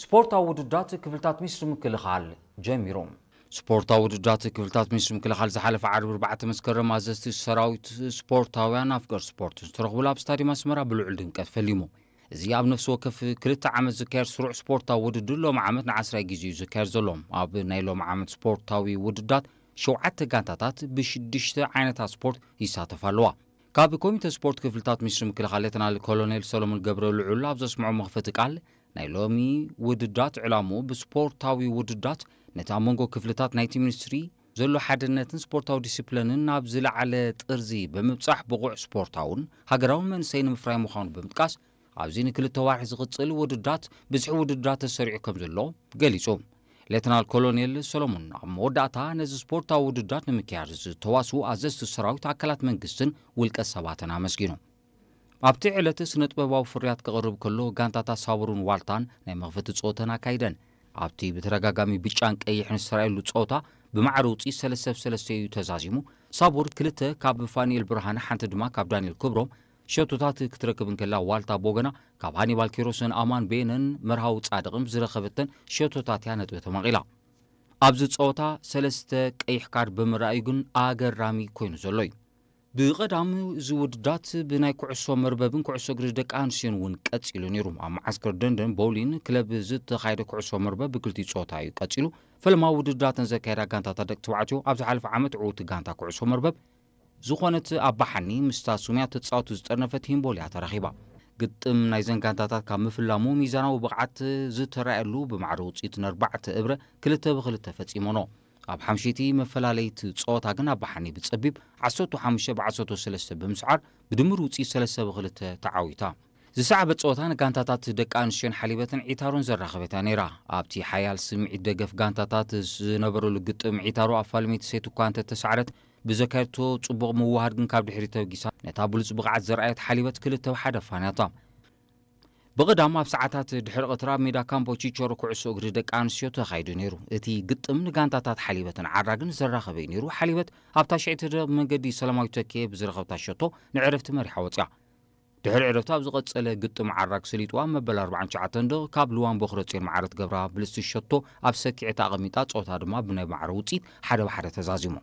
ስፖርታዊ ውድዳት ክፍልታት ሚኒስትሪ ምክልኻል ጀሚሩ። ስፖርታዊ ውድዳት ክፍልታት ሚኒስትሪ ምክልኻል ዝሓለፈ ዓርቢ ኣርባዕተ መስከረም ኣዘዝቲ ሰራዊት፣ ስፖርታውያን፣ ኣፍቀር ስፖርት ዝተረኽቡሉ ኣብ ስታዲየም ኣስመራ ብልዑል ድምቀት ፈሊሙ። እዚ ኣብ ነፍሲ ወከፍ ክልተ ዓመት ዝካየድ ስሩዕ ስፖርታዊ ውድድር ሎሚ ዓመት ንዓስራይ ግዜ እዩ ዝካየድ ዘሎ። ኣብ ናይ ሎሚ ዓመት ስፖርታዊ ውድዳት ሸውዓተ ጋንታታት ብሽዱሽተ ዓይነታት ስፖርት ይሳተፋ ኣለዋ። ካብ ኮሚተ ስፖርት ክፍልታት ሚኒስትሪ ምክልኻል ሌተናል ኮሎኔል ሰሎሞን ገብረ ልዑል ኣብ ዘስምዖ መኽፈቲ ቃል፣ ናይ ሎሚ ውድዳት ዕላምኡ ብስፖርታዊ ውድዳት ነቲ ኣብ መንጎ ክፍልታት ናይቲ ሚኒስትሪ ዘሎ ሓድነትን ስፖርታዊ ዲሲፕሊንን ናብ ዝለዓለ ጥርዚ ብምብጻሕ ብቑዕ ስፖርታውን ሃገራውን መንእሰይ ንምፍራይ ምዃኑ ብምጥቃስ፣ ኣብዚ ንክልተ ዋርሒ ዝቕጽል ውድዳት ብዝሒ ውድዳት ተሰሪዑ ከም ዘሎ ገሊጹ። ሌተናል ኮሎኔል ሰሎሞን ኣብ መወዳእታ ነዚ ስፖርታዊ ውድዳት ንምክያድ ዝተዋስኡ ኣዘዝቲ ሰራዊት፣ ኣካላት መንግስትን ውልቀ ሰባትን ኣመስጊኑ። ኣብቲ ዕለት ስነ ጥበባዊ ፍርያት ከቕርብ ከሎ፣ ጋንታታት ሳቡርን ዋልታን ናይ መኽፈቲ ጸወተን ኣካይደን። ኣብቲ ብተደጋጋሚ ብጫን ቀይሕን ዝተራእየሉ ጸወታ ብማዕረ ውጽኢት ሰለስተ ብ ሰለስተ እዩ ተዛዚሙ። ሳቡር ክልተ ካብ ፋኒኤል ብርሃነ፣ ሓንቲ ድማ ካብ ዳንኤል ክብሮም ሸቶታት ክትረክብ እንከላ፣ ዋልታ ቦገና ካብ ሃኒባል ኪሮስን ኣማን ቤነን መርሃዊ ጻድቕን ብዝረኸበተን ሸቶታት እያ ነጥቢ ተማቒላ። ኣብዚ ጸወታ ሰለስተ ቀይሕ ካርድ ብምርኣዩ ግን ኣገራሚ ኮይኑ ዘሎ እዩ። ብቐዳም እዚ ውድዳት ብናይ ኩዕሶ መርበብን ኩዕሶ እግሪ ደቂ ኣንስትዮን እውን ቀጺሉ ነይሩ። ኣብ መዓስከር ደንደን ቦውሊን ክለብ ዝተኻየደ ኩዕሶ መርበብ ብክልቲኡ ጸወታ እዩ ቀጺሉ። ፈለማ ውድዳተን ዘካየዳ ጋንታታት ደቂ ተባዕትዮ ኣብ ዝሓለፈ ዓመት ዕውቲ ጋንታ ኩዕሶ መርበብ ዝኾነት ኣባሓኒ ምስታ ሱምያ ተጻወቱ ዝጠርነፈት ሂምቦልያ ተረኺባ። ግጥም ናይዘን ጋንታታት ካብ ምፍላሙ ሚዛናዊ ብቕዓት ዝተራእየሉ ብማዕረ ውጽኢት ነርባዕተ እብረ ክልተ ብክልተ ፈጺሞኖ። ኣብ ሓምሽይቲ መፈላለይቲ ጸወታ ግን ኣባሓኒ ብጸቢብ ዓሰርተ ሓሙሽተ ብ ዓሰርተ ሰለስተ ብምስዓር ብድምር ውጽኢት ሰለስተ ብክልተ ተዓዊታ። ዝሰዓበት ጸወታ ንጋንታታት ደቂ ኣንስትዮን ሓሊበትን ዒታሮን ዘራኸበት እያ ነይራ። ኣብቲ ሓያል ስምዒት ደገፍ ጋንታታት ዝነበረሉ ግጥም ዒታሮ ኣፋልመይቲ ሴት እኳ እንተተሳዕረት፣ ብዘካየድቶ ጽቡቕ ምውሃድ ግን ካብ ድሕሪት ተበጊሳ ነታ ብሉጽ ብቕዓት ዘርኣየት ሓሊበት ክልተ ብ ሓደ ኣፋንያታ። ብቐዳም ኣብ ሰዓታት ድሕሪ ቀትሪ ኣብ ሜዳ ካምፖ ቺቸሮ ኩዕሶ እግሪ ደቂ ኣንስትዮ ተኻይዱ ነይሩ። እቲ ግጥም ንጋንታታት ሓሊበትን ዓራግን ዘራኸበ እዩ ነይሩ። ሓሊበት ኣብታ ሽዕቲ ደብ መንገዲ ሰላማዊት ተኪኤ ብዝረኸብታ ሸቶ ንዕረፍቲ መሪሓ ወጽያ። ድሕሪ ዕረፍቲ ኣብ ዝቐጸለ ግጥም ዓራግ ሰሊጥዋ መበል ኣርባዓን ትሽዓተን ደቕ ካብ ልዋን ቦኽረጼን ማዕረ ትገብራ ብልጽቲ ሸቶ ኣብ ሰኪዐት ኣቐሚጣ፣ ጸወታ ድማ ብናይ ማዕረ ውጽኢት ሓደ ብ ሓደ ተዛዚሙ።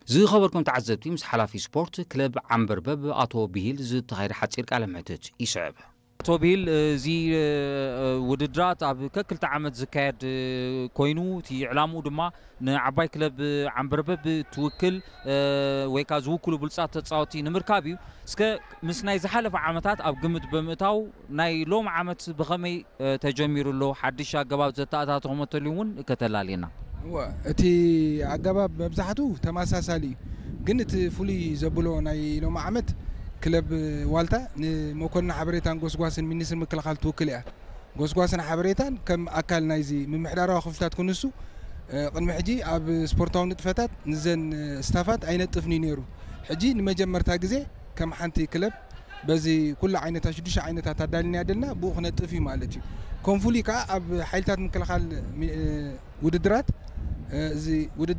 ዝኸበርኩም ተዓዘብቲ፣ ምስ ሓላፊ ስፖርት ክለብ ዓምበርበብ ኣቶ ብሂል ዝተኻየደ ሓጺር ቃለ ምሕትት ይስዕብ። ኣቶ ብሂል፣ እዚ ውድድራት ኣብ ከክልተ ዓመት ዝካየድ ኮይኑ፣ እቲ ዕላምኡ ድማ ንዓባይ ክለብ ዓምበርበብ ትውክል ወይ ከዓ ዝውክሉ ብሉጻት ተጻወቲ ንምርካብ እዩ። እስከ ምስ ናይ ዝሓለፈ ዓመታት ኣብ ግምት ብምእታው፣ ናይ ሎም ዓመት ብኸመይ ተጀሚሩ ኣሎ? ሓድሽ ኣገባብ ዘተኣታተኹም እንተልዩ እውን ከተላልየና። እወ፣ እቲ ኣገባብ መብዛሕቱ ተመሳሳሊ እዩ። ግን እቲ ፍሉይ ዘብሎ ናይ ሎም ዓመት ክለብ ዋልታ ንመኮንን ሓበሬታን ጎስጓስን ሚኒስትሪ ምክልኻል ትውክል እያ። ጎስጓስን ሓበሬታን ከም ኣካል ናይዚ ምምሕዳራዊ ክፍልታት ክንሱ፣ እ፣ ቅድሚ ሕጂ ኣብ ስፖርታዊ ንጥፈታት ንዘን፣ እ፣ ስታፋት ኣይነጥፍን እዩ ነይሩ። ሕጂ ንመጀመርታ ግዜ ከም ሓንቲ ክለብ በዚ ኩሉ ዓይነታት ሽዱሽተ ዓይነታት ኣዳሊና ደልና ብኡ ክነጥፍ እዩ ማለት እዩ። ከም ፍሉይ ከኣ ኣብ ሓይልታት ምክልኻል ሚ-፣ እ፣ ውድድራት፣ እ፣ እዚ ውድድር